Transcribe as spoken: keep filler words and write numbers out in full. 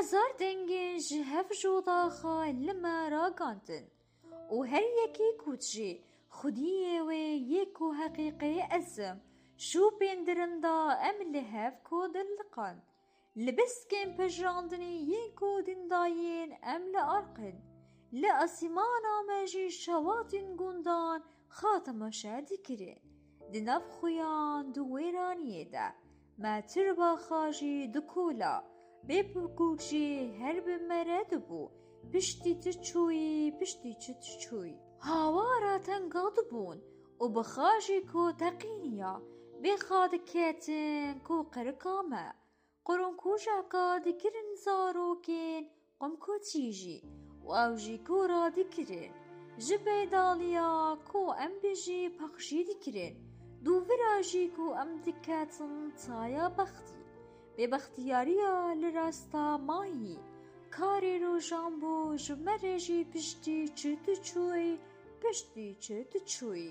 Hezar dengên ji hev jodaxa li me ragandin û her yekî got jî, Xwediyê wê yê ku heqîqê ez im, şûpên dirinda em li hev ku diliqan. Li biskên pejirandinê yên ku dindayên em li arqin. Li asîmana me jî şewatên gundan xa temaşe dikirin. Di nav xuyan di wêraniyê de me tirbaxa jî dikola, bê pirgûk jî her bi me re dibû, piştî tu çûyî, piştî çi tu çûyî. Hawara tenga dibûn û bi xa jî ku teqîniya, bê xa diketin ku qirika me. Qurûnkûjeka dikirin zarokên qumkotî jî û ew jî ku radikirin. Ji beydaliya ku em bijî paqijî dikirin. Dûvira jî ku em diketin taya bextî. Bêbextiyariya li rasta mayî. Karê rojan bû ji me re jî piştî çi tu çûyî, piştî çi tu çûyî.